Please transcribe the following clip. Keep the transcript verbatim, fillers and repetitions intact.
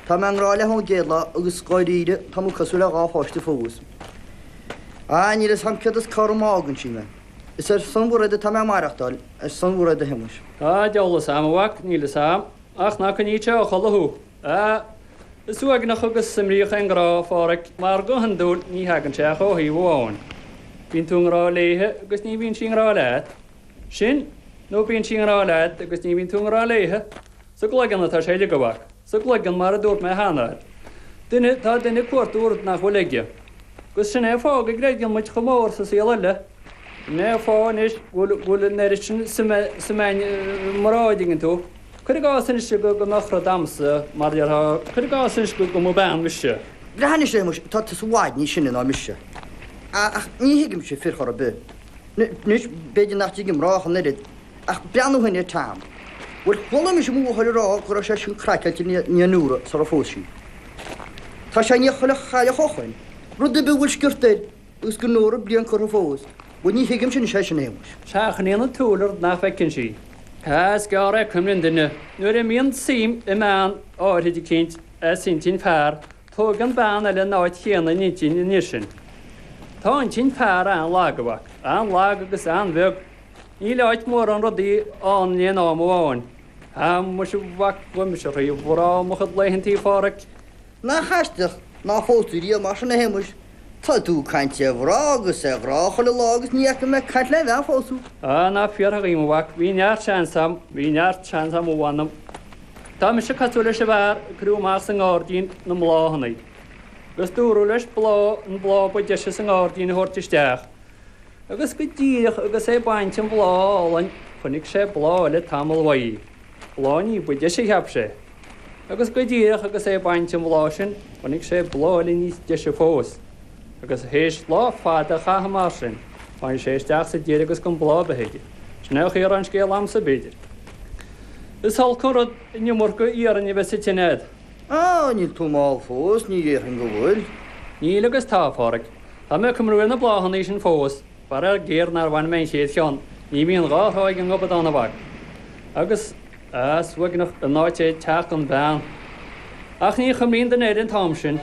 Tá mé i ngrá léi ón gcéad lá agus dháiríre tá muid cosúil le dhá pháiste fós. Á, níl fhios a'm céard is cá raibh má fhágann sí mé. Is ar son Mhairéad atá mé ag maireachtáil, ar son Mhairéad a Shéamais. Á, deabhal fhios a'm, a mhac, níl fhios a'm, ach ná coinníonn sé a chodladh thú. Á, is uaigneach agus imríoch é an grá, a Pháraic, mar go hiondúil ní thagann sé ach ó thaobh amháin. Bíonn tú i ngrá léithe agus ní bhíonn sí i ngrá leat. Sin, nó bíonn sí i ngrá leat agus ní bhíonn tú i ngrá léithe. Sa gcloigeann atá sé uilig, a mhac. Sa gcloigeann, mar a dúirt mé cheana. Duine, tá duine ag cuartú rud nach bhfuil aige. Agus sin é an fáth go gcreideann muid chomh mór sa saol eile. Sin é an fáth anois go bhfuil, go bhfuil an oiread sin suime, suime i mná, an dtuigeann tú. Cuir i gcás anois go mbeadh rud a'msa, mar a déarfá, cuir i gcás anois go mba bean mise. Breathnaigh anois, a Shéamais, tá tusa i bhfad níos sine ná mise. Ach ní thuigimse fir chor ar bith. Anois, b'fhéidir nach dtuigeann mná ach an oiread, ach breathnaigh ó shin ar Tom. Bhuel, chuala mise mo mháthair ag rá go raibh sé sin craiceáilte i ndiaidh Nóra sara phós sí. Tá sé i ndiaidh chuile chailleach ó shoin, rud ar bith a bhfuil sciorta air, agus gan Nóra bliain curtha fós. Bhuel, ní thuigimse anois é sin, a Shéamais. Seachnaíonn an tsúil rud nach bhfeiceann sí. Sea, is gearr é cuimhne an duine. Nuair a imíonn suim i mbean áirithe eicínt as intinn fear, tóigeann bean eile an áit chéanna ina intinn ina dhiaidh sin. Tá intinn fear an-lag, a mhac, an-lag agus an-bheag. Níl áit mórán rudaí ann in aon am amháin. Á, muise, a mhac, ghabh mise thrí mhná mo chuid laethantaí, a Pháraic. Nach aisteach nár phós tú riamh mar sin, a Shéamais? Tá tú ag caint ar mhná agus ar ghrá chuile lá agus ní fhaca mé ag caint le bhean fós thú. Á, nach fíor a dhaoine, a mhac, bhí neart seans a'm, bhí neart seans a'm, a mh'anam. Tá mise cosúil leis an bhfear a cuireadh amach sa ngairdín na mbláthanna. Agus dúradh leis bláth, an bláth ba deise sa ngairdín a thabhairt isteach. Agus go díreach agus é ag baint an bhláth álainn, chonaic sé bláth eile tamall uaidh. Bláth ní ba deise, cheap sé. Agus go díreach agus é ag baint an bhláth sin, chonaic sé bláth eile níos deise fós. Agus théis lá fada a chaitheamh mar sin, tháinig sé isteach sa deireadh agus gan bláth ar bith aige. Sin é an chaoi a raibh an scéal a'msa, b'fhéidir. Is olc an rud an iomarca iarainn a bheith sa tine a'd. Á, níl tú mall fós, ní dhéarfainn go bhfuil. Níl agus tá, a Pháraic. Tá mé ag cuimhniú ar na bláthanna sin fós, faraor géar nár bhain mé an chéad cheann, ní bhíonn dhá thrá ag an ngobadán, a mhac. Agus, á, is uaigneach an áit é teach gan bhean. Ach ní chuimríonn duine air an t-am sin.